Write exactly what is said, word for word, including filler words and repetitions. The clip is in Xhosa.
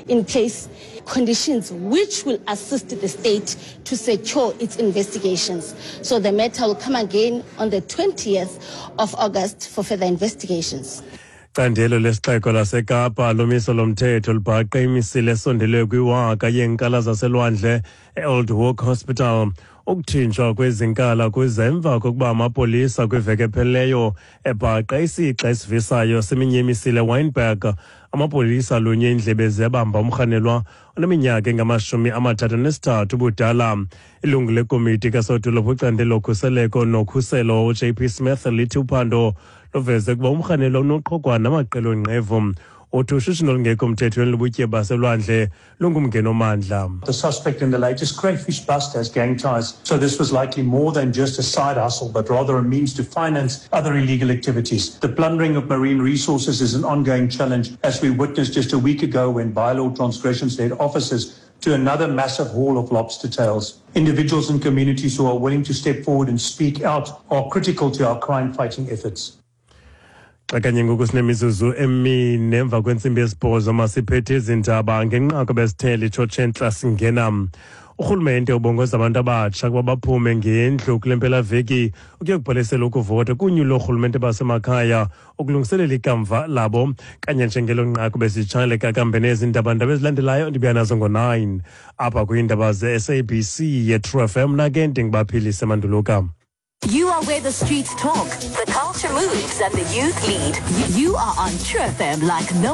in place conditions which will assist the state to secure its investigations. So the matter will come again on the twentieth of August for further investigations. Candelo lesixeko laseKapa lomiso lomthetho libhaqe imisile esondeleyo kwiwaka yeenkala zaselwandle e-Old Walk Hospital. Ukutshintshwa kwezinkala kuza emva kokuba amapolisa kwiveki ephelileyo ebhaqe isixa esivisayo seminye imisile Wynberg. Amapolisa alunye iindlebe ziyabamba umrhanelwa oneminyaka engamashumi amathathu nesithathu ubudala. Ilungu lekomiti kasodolophu icandelo lokhuseleko nokhuselo u-J P Smith lithi uphando luveze ukuba umrhanelwa unoqhogwana namaqela onqevu. Uthi ushishino olungekho mthethweni lobutyebi baselwandle lungumngeni omandla. The suspect in the latest crayfish bust has gang ties, so this was likely more than just a side hustle, but rather a means to finance other illegal activities. The plundering of marine resources is an ongoing challenge, as we witnessed just a week ago when bylaw transgressions led officers to another massive haul of lobster tails. Individuals and communities who are willing to step forward and speak out are critical to our crime-fighting efforts. Xa kanye ngoku sinemizuzu emine emva kwentsimbi yesibhozo, masiphethe izindaba ngenqaku besithele itshotshe singena. Urhulumente ubongoza abantu abatsha ukuba baphume ngendlu kule mpelaveki ukuya kubhalisela ukuvota kunyulo loorhulumente basemakhaya ukulungiselela ikamva labo. Kanye njengelo nqaku besitshale kakambe nezindaba ndaba ezilandelayo ndibuya nazo ngo-nine apha kwiindaba ze-S A B C ye-True F M. Nake ndingubaphilise Manduluka. You are where the streets talk, the culture moves, and the youth lead. You are on True F M like no